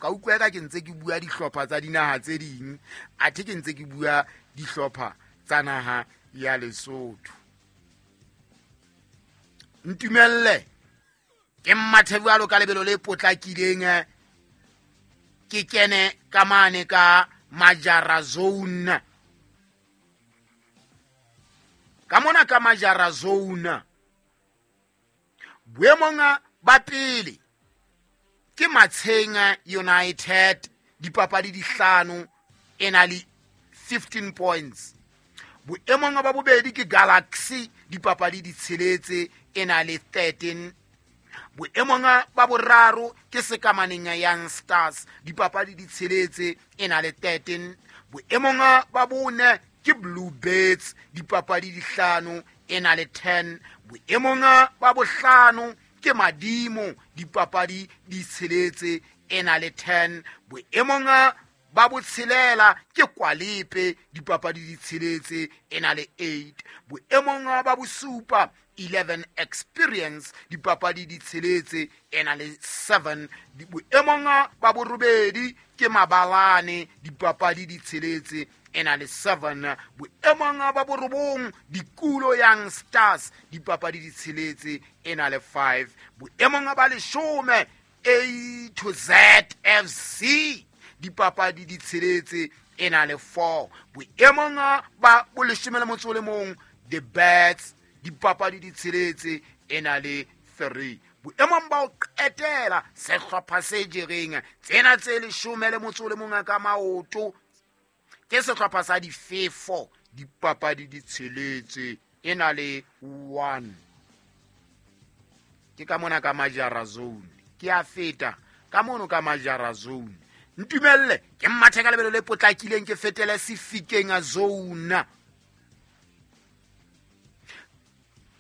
Ka utlwa eka ke ntse ke bua dihlopha tsa dinaha tse ding, athe ke ntse ke bua dihlopha tsa naha ya Lesotho. Ntumelle ke mmathe jwalo ka lebelo le potlakileng, ke kene ka mane ka Majara Zone. Ka mona ka Majara Zone, boemong ba pele ke Matsheng United, dipapadi di hlano, e na le 15 points. Boemong ba bobedi ke Galaxy, dipapadi di tsheletse, e na le 13. Boemong ba boraro ke Sekamaneng Young Stars, dipapadi di tsheletse, e na le 13. Boemong ba bone ke Blue Birds, dipapadi di hlano, e na le 10. Boemong ba bohlano ke Madimo, dipapadi di tsheletse, e na le 10. Boemong ba botshelela ke Kwalepe, dipapadi di tsheletse, e na le 8. Boemong ba bosupa 11 Experience, dipapadi di tsheletse, e na le 7. Boemong ba borobedi ke Mabalane, dipapadi di tsheletse, e na le 7. Boemong ba borobong Dikulo Young Stars, dipapadi di tsheletse, e na le 5. Boemong ba leshome A to Z FC, dipapadi di tsheletse, e na le 4. Boemong ba boleshome le motso o le mong The Birds, dipapadi di tsheletse, e na le 3. Boemong ba ho qetela sehlopha se jereng tsena tse leshome le motso o le mong ka maoto ke sehlopha sa Difefo, dipapadi di tsheletse, e na le 1. Ke ka mona ka Majara Zone, ke a feta ka mono ka Majara Zone. Ntumelle ke mmathe ka lebelo le potlakileng, ke fetele Sefikeng a Zone.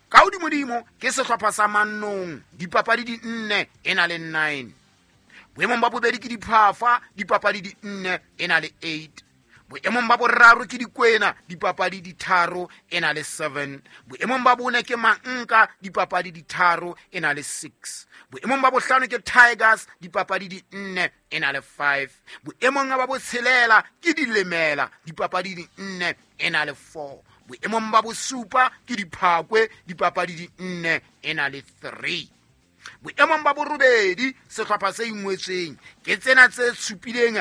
Ka hodimodimo ke sehlopha sa Mannong, dipapadi di 4, e na le 9. Boemong ba bobedi ke Diphafa, dipapadi di 4, e na le 8. Boemong ba boraro ke Dikwena, dipapadi di 3, e na le 7. Boemong ba bone ke Manka, dipapadi di 3, e na le 6. Boemong ba bohlano ke Tigers, dipapadi di 4, e na le 5. Boemong ba botshelela ke Dilemela, dipapadi di 4, e na le 4. Boemong ba bosupa ke Diphakwe, dipapadi di 4, e na le 3. Boemong ba borobedi sehlopha se ingwetsweng ke tsena tse supileng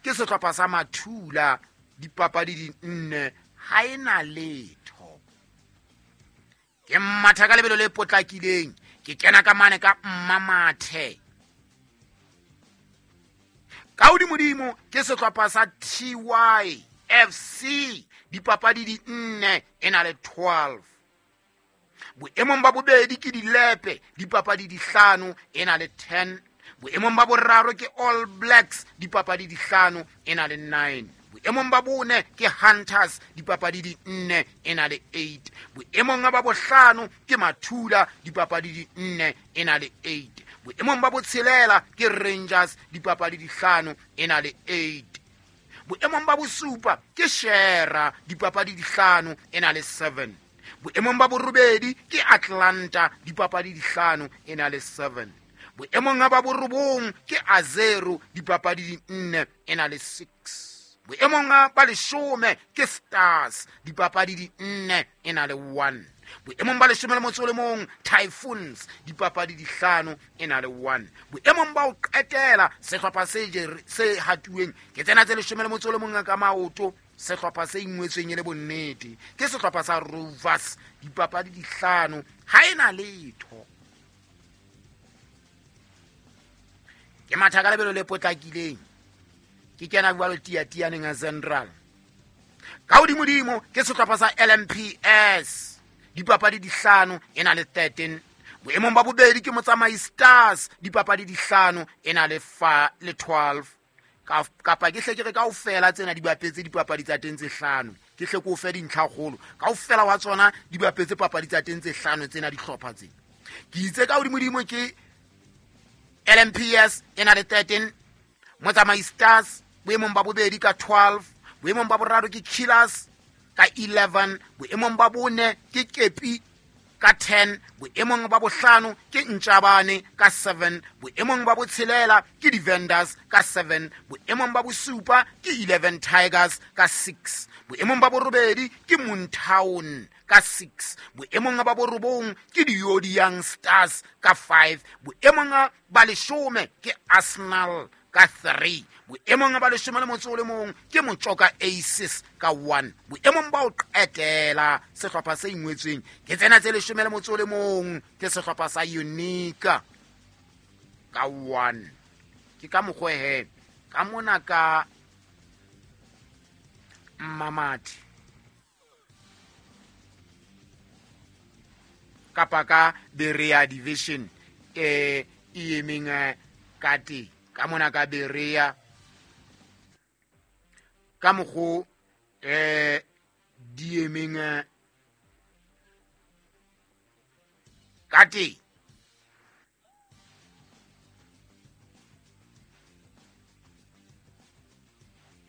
ke sehlopha sa Mathula, dipapadi di 4, ha e na letho. Ke mmatha ka lebelo le potlakileng, ke kena ka mane ka Mmamathe. Ka hodimodimo ke sehlopha sa TYFC, dipapadi di 4, e na le 12. Boemong ba bobedi ke Dilepe, dipapadi di 5, e na le 10. Boemong ba boraro ke All Blacks, dipapadi di 5, e na le 9. Boemong ba bone ke Hunters, dipapadi di 4, e na le 8. Boemong ba bohlano ke Mathula, dipapadi di 4, e na le 8. Boemong ba botshelela ke Rangers, dipapadi di 5, e na le 8. Boemong ba bosupa ke Shera, dipapadi di 5, e na le 7. Boemong ba borobedi ke Atlanta, dipapadi di 5, e na le 7. Boemong ba borobong ke Azero, dipapadi di 4, e na le 6. Boemong ba leshome ke Stars, dipapadi di 4, e na le 1. Boemong ba leshome le motso o le mong Typhoons, dipapadi di 5, e na le 1. Boemong ba ho qetela sehlopha se hatuweng ke tsena tse leshome le motso o le mong ka maoto, sehlopha se ingwetsweng e le bonnete ke sehlopha sa Rovers, dipapadi di 5, ha e na letho. Ke matha ka lebelo le potlakileng, ke kena jwalo tiatianeng ya Central. Ka hodimodimo ke sehlopha sa LMPS, dipapadi di 5, e na le 13. Boemong ba bobedi ke Motsamai Stars, dipapadi di 5, e na le le 12. Kapa ke hle ke re kaofela tsena di bapetse dipapadi tsa teng tse 5. Ke hle ke o fe dintlhakgolo. Kaofela wa tsona di bapetse papadi tsa teng tse 5 tsena dihlopha tse. Ke itse ka hodimodimo ke LMPS e na le 13, Motsamai Stars boemong ba bobedi ka 12, boemong ba boraro ke Killers ka 11, boemong ba bone ke Kepi ka 10, boemong ba bohlano ke Ntjabane ka 7, boemong ba botshelela ke di-Vendors ka 7, boemong ba bosupa ke 11 Tigers ka 6, boemong ba borobedi ke Moontown ka 6, boemong ba borobong ke di-Yodi Young Stars ka 5, boemong ba leshome ke Arsenal ka 3, boemong ba leshome le motso o le mong ke Motjoka Aces ka 1, boemong ba ho qetela sehlopha se ingwetsweng ke tsena tse leshome le motso o le mong ke sehlopha sa Unica ka 1. Ke ka mokgwa he ka mona ka Mmamathi kapa ka Berea Division e emeng ka teng ka mona ka Berea ka mokgo di emeng ka teng.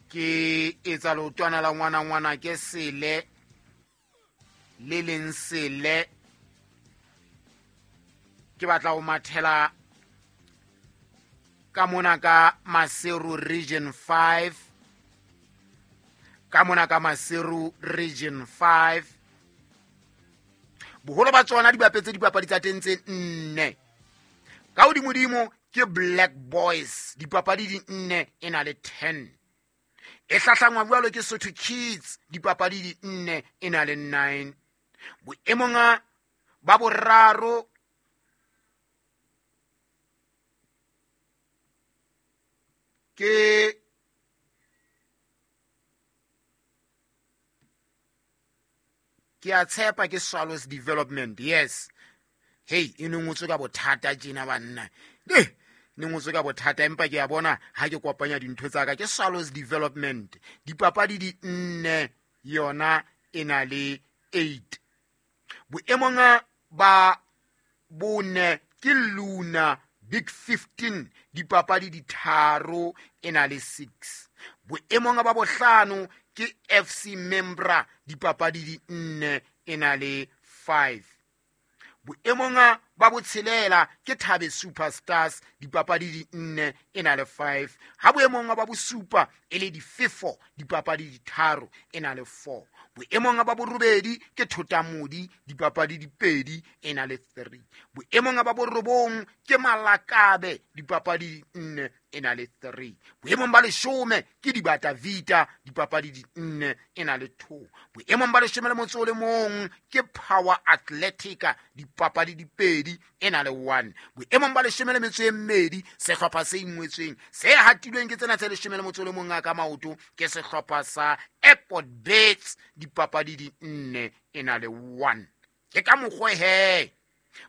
Ke etsa leotwana la ngwana ngwana ke sele le leng sele, ke batla ho mathela ka mona ka Maseru Region 5, ka mona ka Maseru Region 5. Boholo ba tsona di bapetse dipapadi tsa teng tse 4. Ka hodimodimo ke Black Boys, dipapadi di 4 e na le 10. E hlahlangwa jwalo ke Sotho Kids, dipapadi di 4 e na le 9. Boemong ba boraro ke a tshepa ke Swallows Development. Yes, hey, e ne ngotswe ka bothata tjena banna, ne ngotswe ka bothata, empa ke a bona ha ke kopanya dintho tsa ka. Ke Swallows Development, dipapadi di 4 yona e na le 8. Boemong ba bone ke Luna Big 15, dipapadi di 3 e na le 6. Boemong ba bohlano ke FC Membra, dipapadi di 4 e na le 5. Boemong ba botshelela ke Thabe Superstars, dipapadi di 4 e na le 5. Ha boemong ba bosupa e le Difefo, dipapadi di 3 e na le 4. Boemong ba borobedi ke Thotamodi, dipapadi di 2 e na le 3. Boemong ba borobong ke Malakabe, dipapadi di 4 e na le 3. Boemong ba leshome ke Dibata Vita, dipapadi di 4 e na le 2. Boemong ba leshome le motso o le mong ke Power Athletica, dipapadi di 2 e na le 1. Boemong ba leshome le metso e mmedi, sehlopha se ingwetsweng se hatilweng ke tsena tse leshome le motso o le mong ka maoto ke sehlopha sa Airport Birds, dipapadi di 4 e na le 1. Ke ka mokgwa he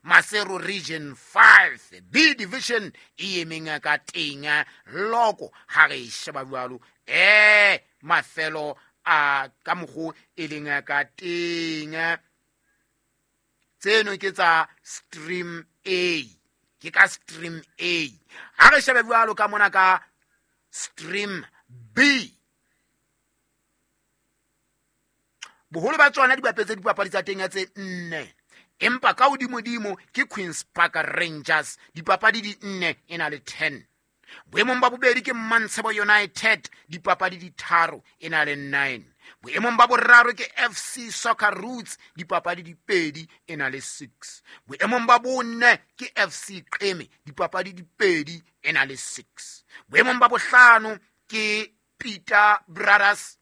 Maseru Region 5 B Division e emeng ka teng loko ha re sheba jwalo mafelo a ka mokgo e leng ka teng. Tseno ke tsa Stream A, ke ka Stream A. Ha re shebe jwalo ka mona ka Stream B, boholo ba tsona di bapetse dipapadi tsa teng tse 4, empa ka hodimodimo ke Queens Park Rangers, dipapadi di 4 e na le 10. Boemong ba bobedi ke Mantshebo United, dipapadi di 3 e na le 9. Boemong ba boraro ke FC Soccer Roots, dipapadi di 2 e na le 6. Boemong ba bone ke FC Qeme, dipapadi di 2 e na le 6. Boemong ba bohlano ke Peter Brothers,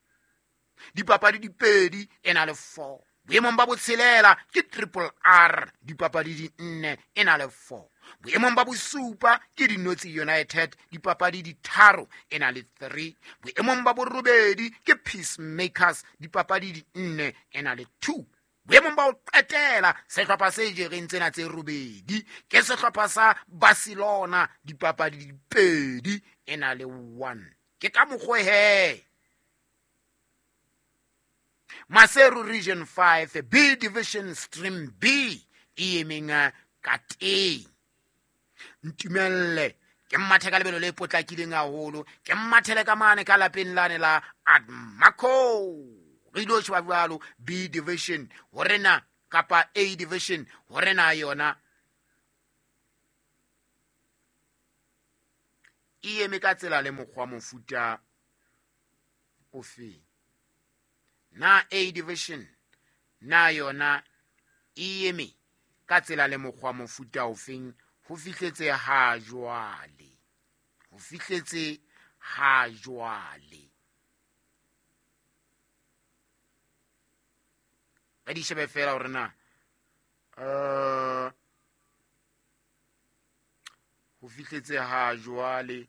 dipapadi di 2 e na le 4. Boemong ba botshelela ke Triple R, dipapadi di 4 e na le 4. Boemong ba bosupa ke Dinotsi United, dipapadi di 3 e na le 3. Boemong ba borobedi ke Peacemakers, dipapadi di 4 e na le 2. Boemong ba ho qetela sehlopha se jereng tsena tse robedi ke sehlopha sa Barcelona, dipapadi di 2 e na le 1. Ke ka mokgwa he Maseru Region 5 B Division Stream B e emeng ka teng. Ntumelle ke mmathe ka lebelo le potlakileng haholo, ke mmathele ka mane ka lapeng lane la Admaco. Re ilo sheba jwalo B Division hore na Kapa A division hore na yona e eme ka tsela le mokgwa mofuta ofe. Na A division na yona e eme ka tsela le mokgwa mofuta ofeng ho fihletse ha jwale. Ho fihletse ha jwale. Re di shebe fela hore na ho fihletse ha jwale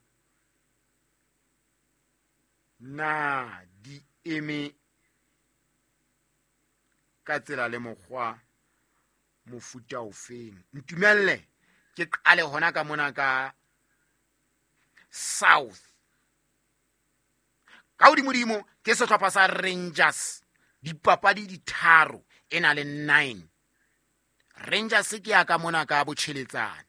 na di eme ka tsela le mokgwa mofuta ofeng. Ntumelle ke qale hona ka mona ka South. Ka hodimodimo ke sehlopha sa Rangers, dipapadi di tharo e na le 9. Rangers ke ya ka mona ka botjheletsane.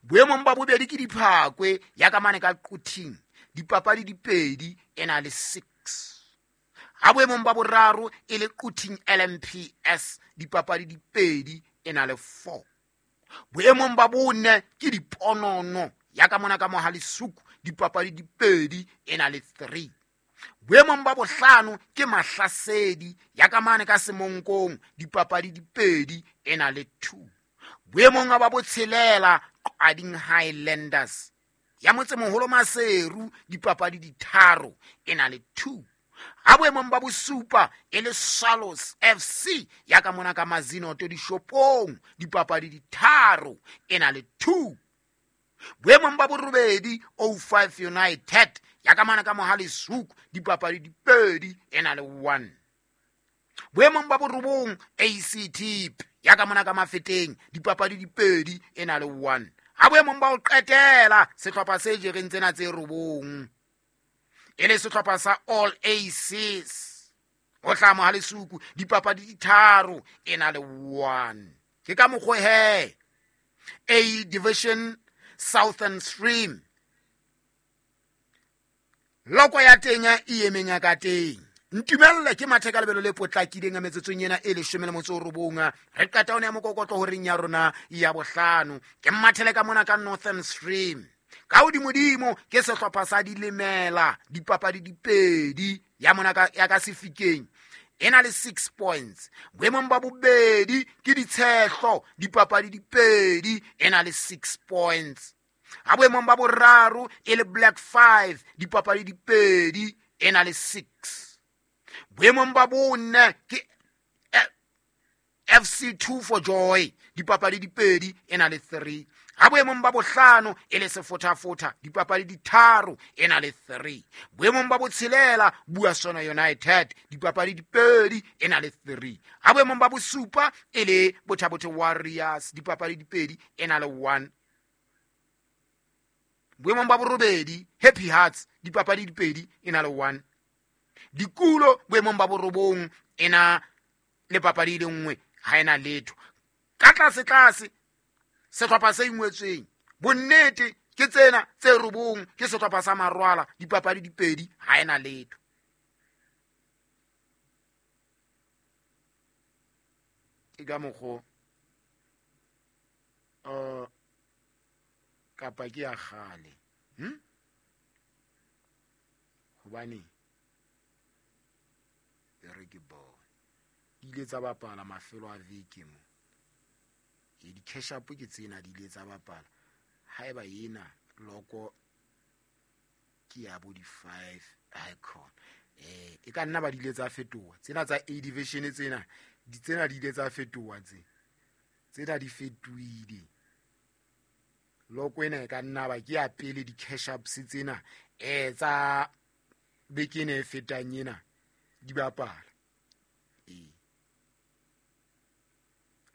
Boemong ba bobedi ke Diphakwe ya ka mane ka Quthing, dipapadi di pedi e na le 6. Ha boemong ba boraro e le Quthing LMPS, dipapadi di pedi e na le 4. Boemong ba bone ke Diponono ya ka mona ka Mohalesuku, dipapadi di pedi e na le 3. Boemong ba bohlano ke Mahlasedi ya ka mane ka Semonkong, dipapadi di pedi e na le 2. Boemong ba botshelela Qading Highlanders ya motsemoholo Maseru, dipapadi di tharo e na le 2. Ha boemong ba bosupa e le Swallows FC ya ka mona ka Mazinoto dishopong, dipapadi di tharo e na le 2. Boemong ba borobedi 05 United ya ka mane ka Mohalesuku, dipapadi di pedi e na le 1. Boemong ba borobong ACT ya ka mona ka Mafeteng, dipapadi di pedi e na le 1. Ha boemong ba ho qetela sehlopha se jereng tsena tse robong e le sehlopha sa All Aces ho tla Mohalesuku, dipapadi di tharo e na le 1. Ke ka mokgwa he A division Southern Stream loko ya teng e emeng ya ka teng. Ntumelle ke mathe ka lebelo le potlakileng metsotsong ena e 19. Re qeta ho nea mokokotlo horeng ya rona ya bohlano. Ke mathele ka mona ka Northern Stream. Ka hodimodimo ke sehlopha sa Dilemela, dipapadi di pedi ya mona ka ya ka Sefikeng e na le 6 points. Boemong ba bobedi ke Ditshehlo, dipapadi di pedi e na le 6 points. Ha boemong ba boraro e le Black 5, dipapadi di pedi e na le 6. Boemong ba bone ke FC2 for Joy, dipapadi di pedi e na le 3. Ha boemong ba bohlano e le Sefothafotha, dipapadi di tharo e na le 3. Boemong ba botshelela Buasona United, dipapadi di pedi e na le 3. Ha boemong ba bosupa e le Bothabothe Warriors, dipapadi di pedi e na le 1. Boemong ba borobedi Happy Hearts, dipapadi di pedi e na le 1. Dikulo boemong ba borobong e na le papadi e le nngwe, ha ena letho. Ka tlase tlase sehlopha se ingwetsweng bonnete ke tsena tse robong ke sehlopha sa Marwala, dipapadi di pedi ha ena letho. Ke ka mokgo kapa ke ya kgale, hobane e re ke bone di ile tsa bapala mafelo a veke mo. E di-cash up ke tsena di ile tsa bapala. Haeba ena loko ke ya bo di-5 icon, e ka nna ba di ile tsa fetoha tsena tsa A division, tsena di tsena di ile tsa fetoha tsena di fetohile. Loko ena e ka nna ba ke ya pele di-cash ups tsena tsa beke ena e fetang ena di bapala.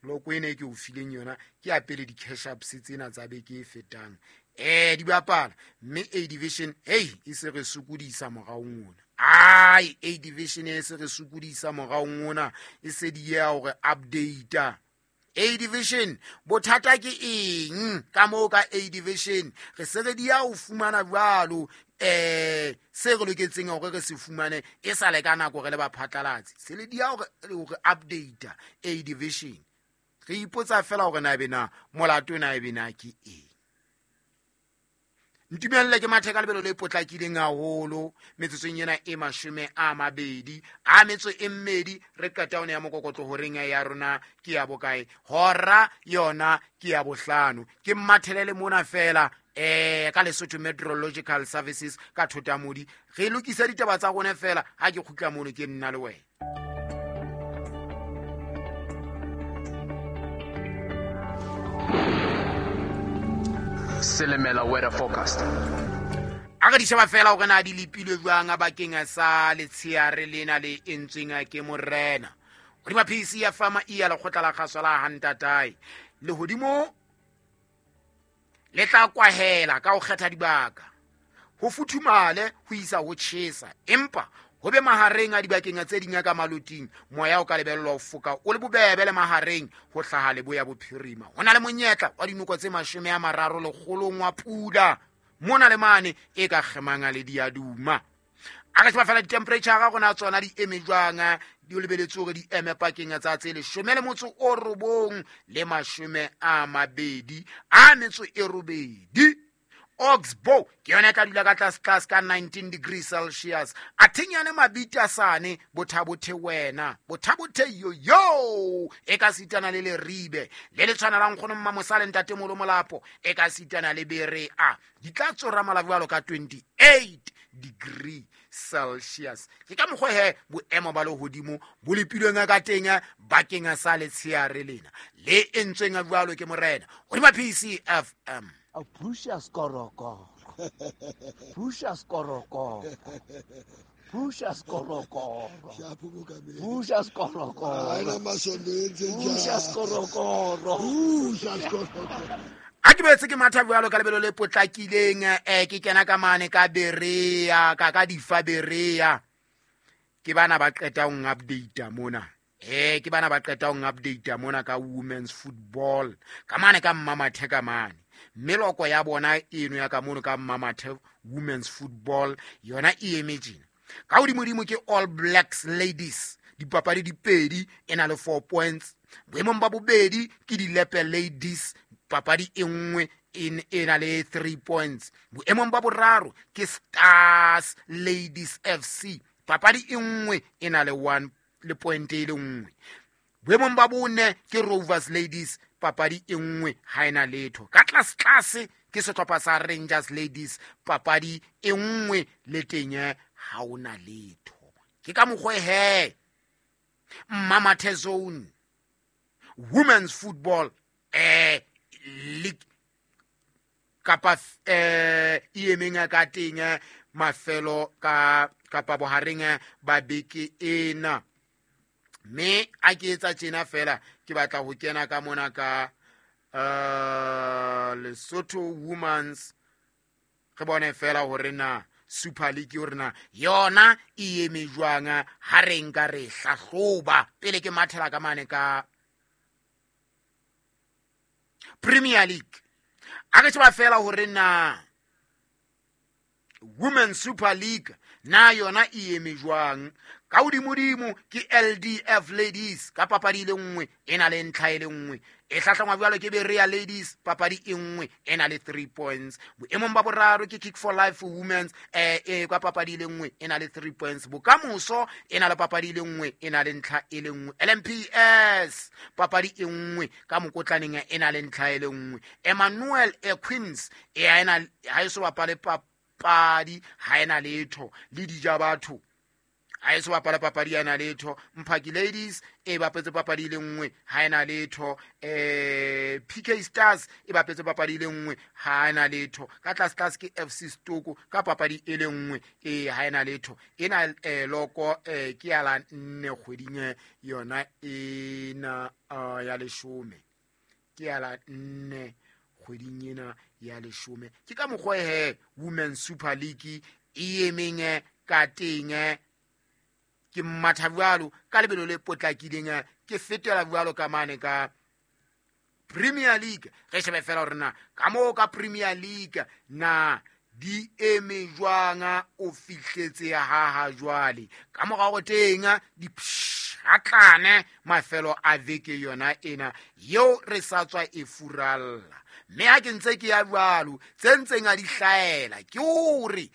Loko ena e ke o fileng yona ke ya pele di-cash ups tsena tsa beke e fetang di bapala. Mme A division hey e se re sokodisa moraong ona. Ai, A division e se re sokodisa moraong ona, e se di ya hore update. A division bothata ke eng ka moo ka A division re se re di ya ho fumana jwalo se re loketseng hore re se fumane e sa le ka nako re le baphatlalatsi se le di ya hore update A division re ipotsa fela hore na ebe na molato na ebe na ke eng. Ntumelle ke mathe ka lebelo le potlakileng haholo metsotsong ena e 22 re qeta hone ya mokokotlo horeng ya rona ke ya bokae hora yona ke ya bohlano ke mathelele mona fela ka Lesotho Meteorological Services ka Thotamodi re lokisa ditaba tsa rona fela ha ke kgutla mono ke nna le wena. Selemela weather forecast. A re di sheba fela hore na di lepilwe jwang bakeng sa letsheare lena le entsweng ke morena. Hodima PC ya fama e ya lekgotla la kgaso la Hantatae. Lehodimo le tla kwahela ka ho kgetha dibaka. Ho futhumale ho isa ho tjhesa empa ho be mahareng a dibakeng tse ding ka maloting moya o ka lebellwa ho foka o le bobebe le mahareng ho hlaha leboya bophirima. Ho na le monyetla wa dinoko tse 30 lekgolong wa pula mona le mane e ka kgemang le diaduma. A re sheba fela di-temperature ga rona tsona di eme jwang di lebeletse hore di eme pakeng tsa tse 19 le 28. Oxbow ke yona e tla dula ka tlase ka 19 degrees Celsius. A thinyane mabita sane bothabothe wena bothabothe yo e ka sitana le leribe le le tshwanelang kgono mmamosale ntate molo molapo e ka sitana le berea di tla tsora malabjalo ka 28 degree Celsius. Ke ka mokgwa he boemo ba lehodimo bo lepilweng ka teng bakeng sa letsheare lena le entsweng jwalo ke morena hodima PCFM. Puxa skorokoro. Puxa skorokoro. Puxa skorokoro. Puxa skorokoro. Puxa skorokoro. Puxa skorokoro. A ke boetse ke matha jwalo ka lebelo le potlakileng ke kena ka mane ka Berea ka difa Berea ke bana ba qeta ho update mona. Ke bana ba qeta ho update mona ka women's football ka mane ka Mmamathe ka mane meloko ya bona eno ya ka mono ka Mmamathe women's football yona e eme tjena ka hodimodimo ke All Blacks ladies dipapadi di pedi e na le 4 points boemong ba bobedi ke Dilepe ladies papadi e nngwe e na le 3 points boemong ba boraro ke Stars Ladies FC papadi e nngwe e na le 1 le point e le nngwe boemong ba bone ke Rovers Ladies papadi e nngwe ha ena letho ka tlase ke sehlopha sa Rangers Ladies papadi e nngwe le teng ha ona letho ke ka mokgwa he Mmamathe zone women's football league kapa e emeng ka teng mafelo ka kapa bohareng ba beke ena. Me a ke etsa tjena fela ke batla ho kena ka mona ka Lesotho Women's re bone fela hore na Super League hore na yona e eme jwang ha re nka re hlahloba pele ke mathela ka mane ka Premier League. A re sheba fela hore na Women's Super League na yona e eme jwang ka hodimodimo ke LDF Ladies ka papadi le nngwe e na le ntlha e le nngwe e hlahlangwa jwalo ke Berea Ladies papadi e nngwe e na le 3 points boemong ba boraro ke Kick for Life Women's ka papadi le nngwe e na le 3 points bokamoso e na le papadi le nngwe e na le ntlha e le nngwe LMPS papadi e nngwe ka mokotlaneng e na le ntlha e le nngwe Emmanuel Queens e ena ha e so bapale papadi ha ena letho le dija batho ha e so bapala papadi ya na letho Mphaki Ladies e bapetse papadi le nngwe ha ena letho PK Stars e bapetse papadi le nngwe ha ena letho ka tlase ke FC Stoko ka papadi e le nngwe ha ena letho ena loko ke ya la nne kgweding yona ena ya leshome ke ya la nne kgweding ena ya leshome ke ka mokgwa he Women's Super League e emeng ka teng ke matha jwalo ka lebelo le potlakileng ke fetela jwalo ka mane ka Premier League. Re shebe fela hore na ka moo ka Premier League na di eme jwang, o fihletse ha ha jwale ka morao teng di pshatlane mafelo a veke yona ena yeo re sa tswa e furalla. Mme ha ke ntse ke ya jwalo, tse ntseng a di hlaela ke hore